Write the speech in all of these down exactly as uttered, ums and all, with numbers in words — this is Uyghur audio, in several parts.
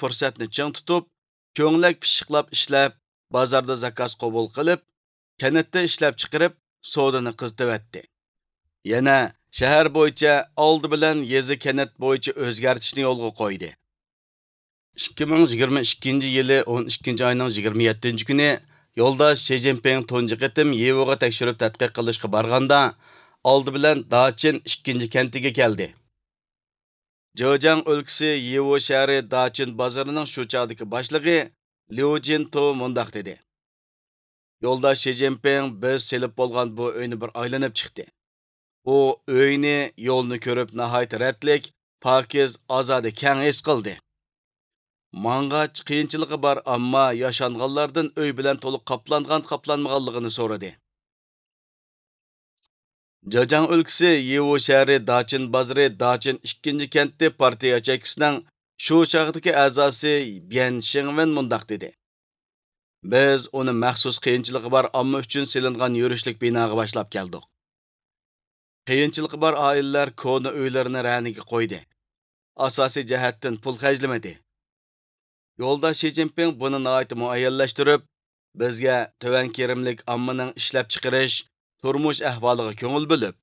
پۇرسەتنى چىڭ تۇتۇپ، كۆڭلەك پىششىقلاپ ئىشلەپ، بازاردا زاكاز قوبۇل قىلىپ، كەنتتە ئىشلەپچىقىرىپ، سودىنى قىزىتىۋەتتى. يەنە شەھەر بويىچە ئالدى بىلەن يېزا، كەنت بويىچە ئۆزگەرتىشنى يولغا قويدى. ئىككى مىڭ يىگىرمە ئىككىنچى يىلى ئون ئىككىنچى ئاينىڭ يىگىرمە يەتتىنچى كۈنى يولداش شى جىنپىڭ تۇنجى قېتىم يىۋوغا تەكشۈرۈپ تەتقىق قىلىشقا بارغاندا، ئالدى بىلەن داچىن ئىككىنچى كەنتىگە كەلدى. جېجياڭ ئۆلكىسى يىۋو شەھىرى داچىن بازىرىنىڭ شۇ چاغدىكى باشلىقى ليۇ جىنتو مۇنداق دېدى: يولداش شى جىنپىڭ بىز سېلىپ بولغان بۇ ئۆينى بىر ئايلىنىپ چىقتى. ئۇ ئۆينى، يولنى كۆرۈپ ناھايىتى رەتلىك، پاكىز، ئازادە، كەڭ ھېس قىلدى. ماڭغاچ قىيىنچىلىقى بار، ئەمما ياشانغانلاردىن ئۆي بىلەن تولۇق قاپلانغان-قاپلانمىغانلىقىنى سورىدى. جېجياڭ ئۆلكىسى يىۋو شەھىرى داچىن بازىرى داچىن ئىككىنچى كەنتى پارتىيە ياچېيكىسىنىڭ شۇ چاغدىكى ئەزاسى بيەن شېڭۋېن مۇنداق دېدى: بىز ئۇنى مەخسۇس قىيىنچىلىقى بار ئامما ئۈچۈن سېلىنغان يۈرۈشلۈك بىناغا باشلاپ كەلدۇق. قىيىنچىلىقى بار ئائىلىلەر كونا ئۆيلىرىنى رەنىگە قويدى. ئاساسىي جەھەتتىن پۇل خەجلىمىدى. يولداش شى جىنپىڭ بۇنى ناھايىتى مۇئەييەنلەشتۈرۈپ، بىزگە تۆۋەن كىرىملىك ئاممىنىڭ ئىشلەپچىقىرىش، تۇرمۇش ئەھۋالىغا كۆڭۈل بۆلۈپ،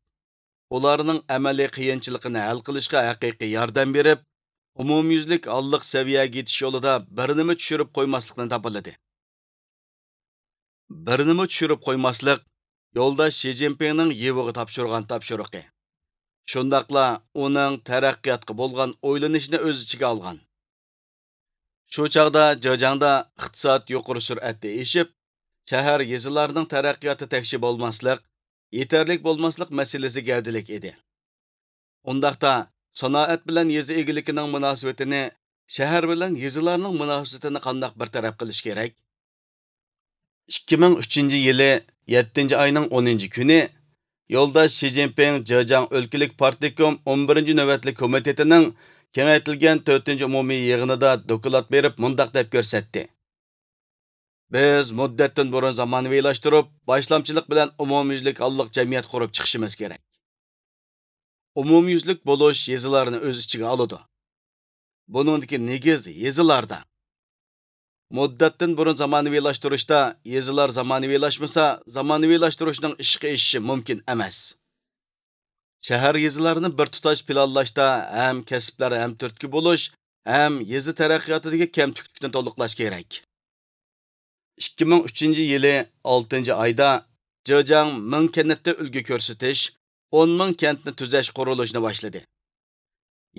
ئۇلارنىڭ ئەمەلىي قىيىنچىلىقىنى ھەل قىلىشقا ھەقىقىي ياردەم بېرىپ، ئومۇميۈزلۈك ھاللىق سەۋىيەگە يېتىش يولىدا بىرنېمە چۈشۈرۈپ قويماسلىقنى تاپىلىدى. بىرنېمە چۈشۈرۈپ قويماسلىق يولداش شى جىنپىڭنىڭ يىۋوغا تاپشۇرغان تاپشۇرۇقى. شۇنداقلا ئۇنىڭ تەرەققىياتقا بولغان ئويلىنىشىنى ئۆز ئىچىگە ئالغان. شۇ چاغدا جېجياڭدا ئىقتىساد يۇقىرى سۈرئەتتە ئېشىپ، شەھەر، يېزىلارنىڭ تەرەققىياتى تەكشى بولماسلىق، يېتەرلىك بولماسلىق مەسىلىسى گەۋدىلىك ئىدى. ئۇنداقتا، سانائەت بىلەن يېزا ئىگىلىكىنىڭ مۇناسىۋىتىنى شەھەر بىلەن يېزىلارنىڭ مۇناسىۋىتىنى قانداق بىر تەرەپ قىلىش كېرەك؟ ئىككى مىڭ ئۈچىنچى يىلى يەتتىنچى ئاينىڭ ئونىنچى كۈنى يولداش شى جىنپىڭ جېجياڭ ئۆلكىلىك پارتكوم ئون بىرىنچى نۆۋەتلىك كومىتېتىنىڭ كېڭەيتىلگەن تۆتىنچى ئومۇمىي يىغىنىدا دوكلات بېرىپ مۇنداق دەپ كۆرسەتتى: بىز مۇددەتتىن بۇرۇن زامانىۋىلاشتۇرۇپ، باشلامچىلىق بىلەن ئومۇميۈزلۈك ھاللىق جەمئىيەت قۇرۇپ چىقىشىمىز كېرەك. ئومۇميۈزلۈك بولۇش يېزىلارنى ئۆز ئىچىگە ئالىدۇ. بۇنىڭدىكى نېگىز يېزىلاردا. مۇددەتتىن بۇرۇن زامانىۋىلاشتۇرۇشتا يېزىلار زامانىۋىلاشمىسا، زامانىۋىلاشتۇرۇشنىڭ ئىشقا ئېشىشى مۇمكىن ئەمەس. شەھەر، يېزىلارنى بىر تۇتاش پىلانلاشتا ھەم كەسىپلەر ھەم تۈرتكە بولۇش، ھەم يېزا تەرەققىياتىدىكى كەمتۈكلۈكنى تولۇقلاش كېرەك. ئىككى مىڭ ئۈچىنچى يىلى ئالتىنچى ئايدا جېجياڭ مىڭ كەنتتە ئۈلگە كۆرسىتىش، ئون مىڭ كەنتنى تۈزەش قۇرۇلۇشىنى باشلىدى.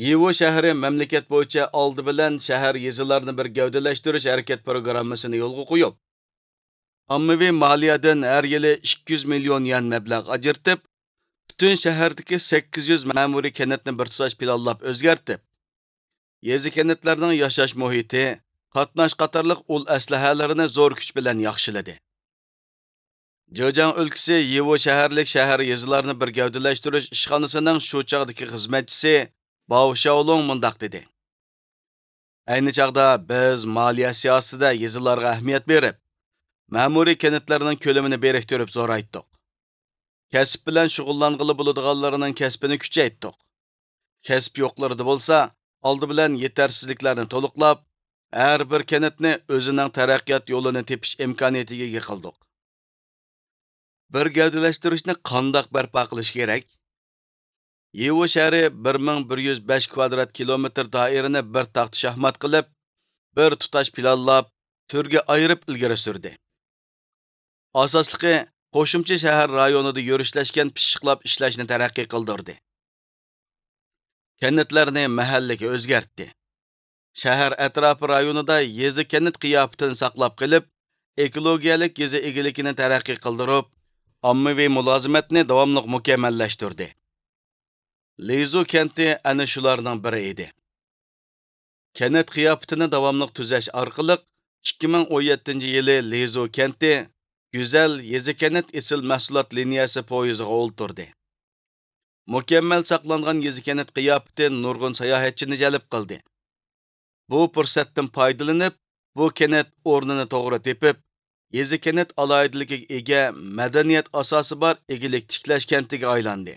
يىۋو شەھىرى مەملىكەت بويىچە ئالدى بىلەن شەھەر، يېزىلارنى بىر گەۋدىلەشتۈرۈش ھەرىكەت پروگراممىسىنى يولغا قويۇپ، ئاممىۋى مالىيەدىن ھەر يىلى ئىككى يۈز مىليون يۈەن مەبلەغ ئاجرىتىپ، پۈتۈن شەھەردىكى سەككىز يۈز مەمۇرىي كەنتنى بىر تۇتاش پىلانلاپ ئۆزگەرتىپ، يېزا، كەنتلەرنىڭ ياشاش مۇھىتى، قاتناش قاتارلىق ئۇل ئەسلىھەلىرىنى زور كۈچ بىلەن ياخشىلىدى. جېجياڭ ئۆلكىسى يىۋو شەھەرلىك شەھەر، يېزىلارنى بىر گەۋدىلەشتۈرۈش ئىشخانىسىنىڭ شۇ چاغدىكى خىزمەتچىسى باۋ شياۋلۇڭ مۇنداق دېدى: ئەينى چاغدا بىز مالىيە سىياسىتىدە يېزىلارغا ئەھمىيەت بېرىپ، مەمۇرىي كەنتلەرنىڭ كۆلىمىنى بىرىكتۈرۈپ زورايتتۇق. كەسىپ بىلەن شۇغۇللانغىلى بولىدىغانلارنىڭ كەسپىنى كۈچەيتتۇق. كەسىپ يوقلىرىدا بولسا، ئالدى بىلەن يېتەرسىزلىكلەرنى تولۇقلاپ، ھەر بىر كەنتنى ئۆزىنىڭ تەرەققىيات يولىنى تېپىش ئىمكانىيىتىگە ئىگە قىلدۇق. بىر گەۋدىلەشتۈرۈشنى قانداق بەرپا قىلىش كېرەك؟ يىۋو شەھىرى بىر مىڭ بىر يۈز بەش كۋادرات كىلومېتىر دائىرىنى بىر تاختا شاھمات قىلىپ، بىر تۇتاش پىلانلاپ، تۈرگە ئايرىپ ئىلگىرى سۈردى. ئاساسلىقى، قوشۇمچە شەھەر رايونىدا يۈرۈشلەشكەن پىششىقلاپ ئىشلەشنى تەرەققىي قىلدۇردى. كەنتلەرنى مەھەللىگە ئۆزگەرتتى. شەھەر ئەتراپى رايونىدا يېزا، كەنت قىياپىتىنى ساقلاپ قېلىپ، ئېكولوگىيەلىك يېزا ئىگىلىكىنى تەرەققىي قىلدۇرۇپ، ئاممىۋى مۇلازىمەتنى داۋاملىق مۇكەممەللەشتۈردى. لىزۇ كەنتى ئەنە شۇلارنىڭ بىرى ئىدى. كەنت قىياپىتىنى داۋاملىق تۈزەش ئارقىلىق، ئىككى مىڭ ئون يەتتىنچى يىلى لىزۇ كەنتى گۈزەل يېزا، كەنت ئېسىل مەھسۇلات لىنىيەسى پويىزىغا ئولتۇردى. مۇكەممەل ساقلانغان يېزا، كەنت قىياپىتى نۇرغۇن ساياھەتچىنى جەلپ قىلدى. بۇ پۇرسەتتىن پايدىلىنىپ، بۇ كەنت ئورنىنى توغرا تېپىپ، يېزا، كەنت ئالاھىدىلىكىگە ئىگە، مەدەنىيەت ئاساسى بار ئىگىلىك تىكلەش كەنتىگە ئايلاندى.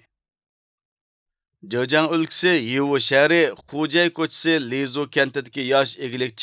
جېجياڭ ئۆلكىسى يىۋۇ شەھىرى خۇجەي كوچىسى لىزۇ كەنتىدىكى ياش ئىگىلىك